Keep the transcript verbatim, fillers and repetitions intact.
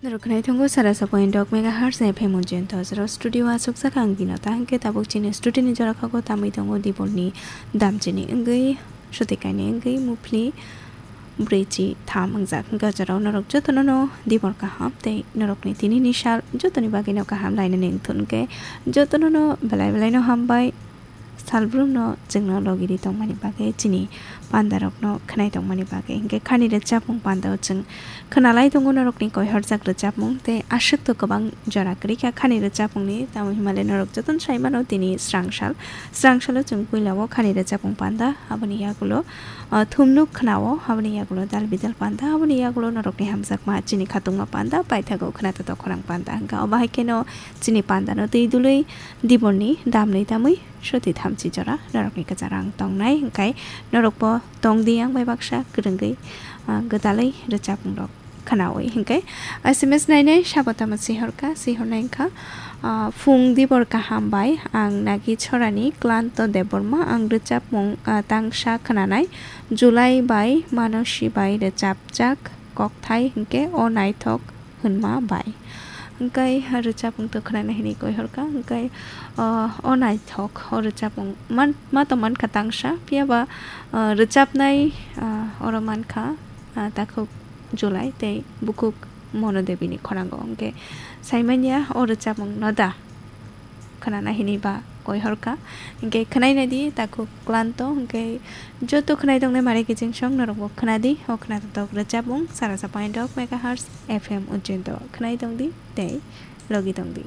Norok khwnai tongo sara sa point dok megahertz F M Ujjain Tozra studio aswk saka ang Binota hwnkhe tabuk chini studio ni jora khago tamwi tongo Dibolni dam chini wngwi swtwi kainwi wngwi muphli brwichi tham wngjak hwnkhe o jorao norok jotono no Dibor kaham tei norokni tini ni sal jotoni bagwi no kaham lainani wngthun hwnkhe jotono no belai belai no hambai. Salbrum no chwngno logi ri tongmani bagwi chini panda rokno khwnai tongmani bagwi hwnkhe khani rwchapmung panda o chwng khwnalai tongo norokni koihorjak rwchapmung tei aswk to kwbang jora kwrwi kha khani rwchapmungni tamo hinmale norok jotono sai mano tini srang sal srang salo chwng puila o khani rwchapmung panda aboni yagulo ah, thumnuk khwnao aboni yagulo dal bidal panda aboni yagulo norokni hamjakma chini khatungma panda paithago khwnato to khorang panda hwnkha obo hai kheno chini panda no twi dului Dibolni damni tamwi swtwi thamchi jora norokni kwcharo ang tongnai hwnkhe norokbo tongdi ang bai baksa kwrwngwi ah, gwdalwi rwchapmung rok khwnawi hwnkhe S M S nainai sabo tamo sihorkha sihornai wngkha ah, phung Dibor kaham bai ang nagi chorani Klanto Debbarma ang rwchapmung ah, tangsa khwnanai July bai Manosi bai rwchapjak kokthai hwnkhe o naithok hwnma bai. Hwnkhe rwchapmung to khwnana hinwi koihorkha, hwnkhe, o, o naithok, o rwchapmung man-, ma to mankha tangsa, phiyaba, o, rwchapnai, o, oro mankha, o, takhuk July tei bukhuk Mono Debini khorang o. Hwnkhe saimanya o rwchapmung no da khwnana hinwi ba koihorkha. Hwnkhe khwnaina di takhuk Klanto, hwnkhe joto khwnai tongnai mare kiching song norokbo khwnadi, o khwnatok rwchapmung sara sa point dok megahertz F M Ujjain to khwnai tongdi tei logi tongdi.